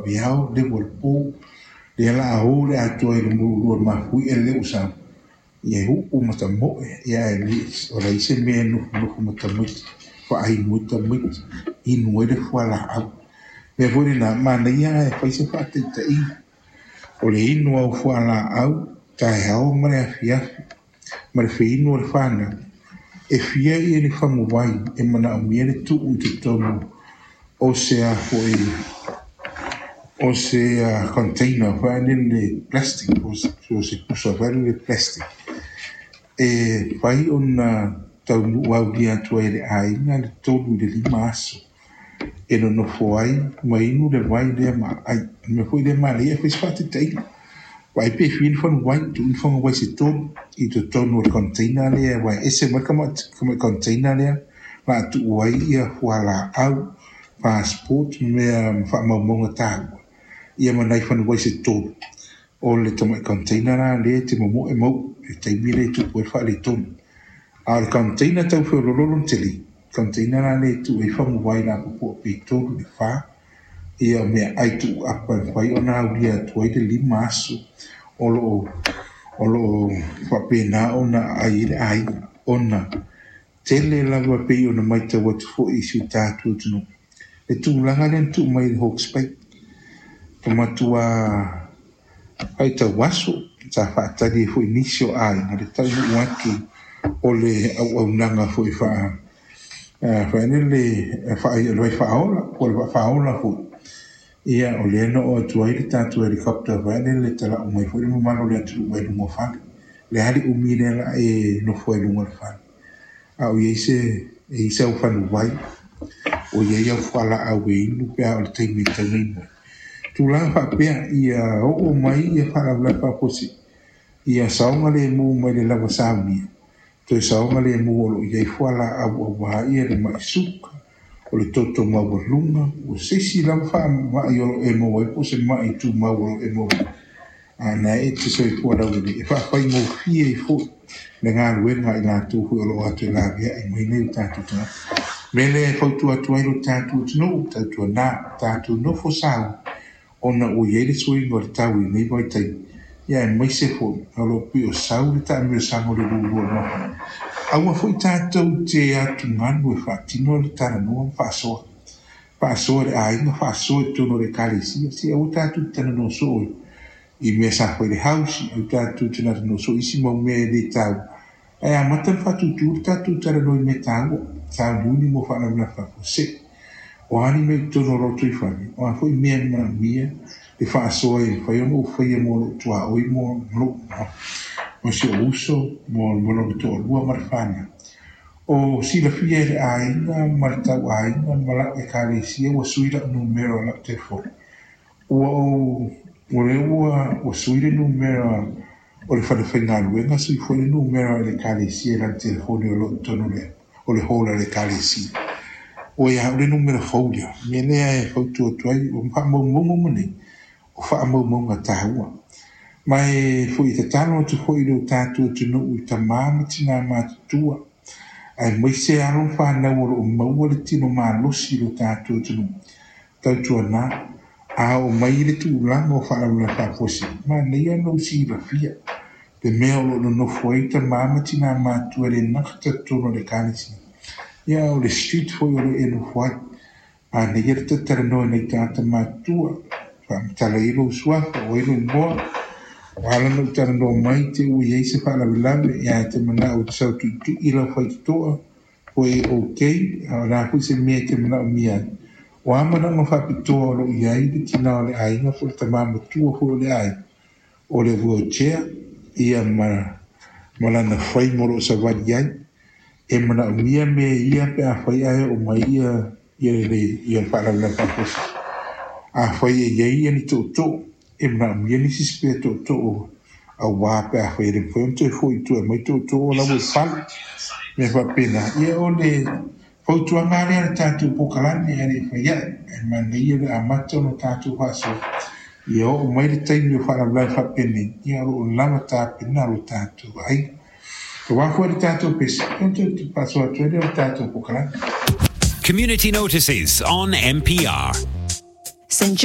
Vaveao, le ua le po, lea la a o le atoa i le mululua mafuie le ua sau, ia e uu ma tamoe, ia e le, o leai se mea e nofonofo ma tamaiti, faainu ai tamaiti, inu ai le fualaau. Mea foi lena, manaia e fai se faataitaiga. O le inu au fualaau, taeao ma le afiafi, ma le feinu o le fanau, e fia ia ni faguvai e manaomia le tuu i totonu o se a foi o se container foi lele plastic, o se pusa foi lele plastic, e fai ona taunuu aulia atu ai e le aiga le 3 i le 5 aso e nonofo ai ma inu le vai lea ma ai. O le mea foi lea manaia e fai se faataitaiga. Vaai pe fia ni faguvai, tuu ni faguvai se 3 i totonu o le container lea, vai ese mai le container lea, la tuu ai ia fualaau, passport, mea faamaumauga taua, ia ma nai faguvai se 3. O le tamai container la lea te momoe mau, e taimi le tupu ai faaletonu. A o le container tau feololo le tele, container la lea tuu ai faguvai la popoa pe 3 le 4, ia mea ai tuu apa e fai ona aulia atu ai le 5 aso o loo faapena ona ai le aiga, ona tele lava pei ona matau atu foi i si o tatou atunuu. Le tulaga lea na tuu mai i le Hawke's Bay, o matua faitau aso, sa faatali ai foi nisi o aiga, le taunuu atu o le auaunaga foi faanele vai faaola, po o le faaola foi. Ia, o lea na oo atu ai le tatou helicopter faanele talau mai foi le mamalu o le atunuu mai luga o fale. Le ali umi lea la e nofo ai luga o le fale. A o iai se, e i se au fanuvai, o iai au fualaau e inu pe a o le taimi e tau nei mai. Tulaga faapea, ia oo mai ia faalavelave faafuasei, ia saoga le mu mai le lava saunia, toe saoga le mu o loo iai fualaau auā ia le mai suka, o le toto maualuga, o se isi lava faamai o loo e maua ai po o se mai tumau o loo e maua ai. A na e te soifua laulelei, e faafaigofie ai foi le galuega i latou foi o loo atu e laveai mai nei o tatou tagata. Mea lea e fautua atu ai lo tatou atunuu, tautuana, tatou nofo sau, ona ua iai le suiga o le tau i lenei vaitaimi. Ia aemaise foi, o loo pei o sau le taamilosaga o le lulua o le mafana. Aua foi tatou te atugalu e faatino le talanoa ma faasoa. Faasoa le aiga, faasoa i totonu o le ekalesia. Se aua tatou te talanoa soo i mea sa fai le house, aua tatou te talanoa soo i isi mau mea e le taua. Ae amata na faatūtū le tatou talanoa i mea taua, sauniuni mo faalavelave faafuasei. O a ni mea i totonu o lou tuifale, o a foi mea e manaomia le faasoa e mafai ona ou faia mo lou tuaoi mo lou mo si ou uso, mo lona toalua ma le fanau. O silafia e le aiga ma le tauaiga ma lau ekalesia ua sui lau numera o lau telefoni. Ua ou ua lea ua sui le numera o le fale faigaluega, sui foi le numera o le ekalesia i lana telefoni o loo i totonu o le hall a le ekalesia. O ia au le numera fou lea. Mea lea e fautua atu ai, o faamaumauga uma nei, o faamaumauga taua. Ma e foi tatalo atu foi i le tatou atunuu i tamā ma tinā matutua, aemaise alo ma fanau o loo maua le tino malosi i lo tatou atunuu. Tautuana, a oo mai le tulaga o faalavelave faafuasei, manaia ona ou silafia le mea o loo nonofo ai tamā ma tinā matua e le nata totonu o le ekalesia. Ia o le street foi o le e nofo ai. Manaia le tatalanoa i nai tagata matutua, faamatala ai lou suafa, o ai lou igoa, o ala na ou talanoa mai te ua iai se faalavelave, ia e te manao te sau tuitui lau faitotoa, po e okay, a o le a foi se mea e te manaomia ai. O a manaoga faapitoa o loo iai le tina o le aiga po o le tamā matua foi o le aiga, o le wheelchair, ia ma lana frame o loo savali ai. E manaomia mea ia pe a fai ae oo mai ia le faalavelave faafuasei. A fai e iai ia ni tootoo, e manaomia nisi spare tootoo auā pe a fai e le mafai ona toe foi i tua e mai tootoo o lau e fale. Mea faapena, ia o le fautuaga lea le tatou polokalame e le fai ae, e manaia le amata ona tatou faasoa. Ia oo mai le taimi o faalavelave faapenei, ia o loo lava tapena lo tatou aiga. O a foi le tatou pese, e toe faasoa atu ai lea o le tatou polokalame. Community notices on MPR. St. John